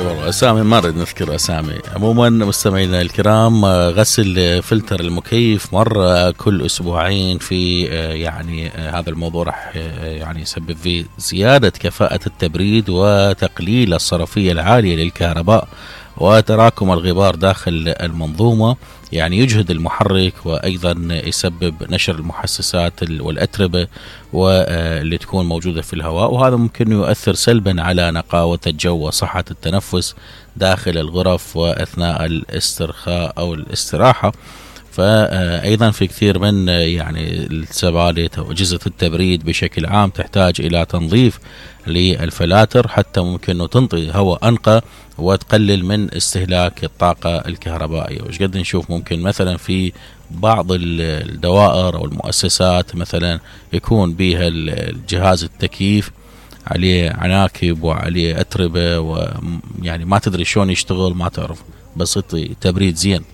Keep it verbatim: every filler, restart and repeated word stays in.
والله اسامي ما نريد نذكر اسامي. عموما مستمعينا الكرام، غسل فلتر المكيف مرة كل اسبوعين في يعني هذا الموضوع راح يعني يسبب فيه زيادة كفاءة التبريد وتقليل الصرفية العالية للكهرباء وتراكم الغبار داخل المنظومة، يعني يجهد المحرك وأيضا يسبب نشر المحسسات والأتربة واللي تكون موجودة في الهواء، وهذا ممكن يؤثر سلبا على نقاوة الجو وصحة التنفس داخل الغرف وأثناء الاسترخاء أو الاستراحة. فأيضا في كثير من يعني السبالت أو أجهزة التبريد بشكل عام تحتاج إلى تنظيف للفلاتر حتى ممكن أنه تنطي هواء أنقى وتقلل من استهلاك الطاقة الكهربائية. وش قد نشوف ممكن مثلا في بعض الدوائر أو المؤسسات مثلا يكون بها الجهاز التكييف عليه عناكب وعليه أتربة، ويعني ما تدري شلون يشتغل، ما تعرف، بس يعطي تبريد زين.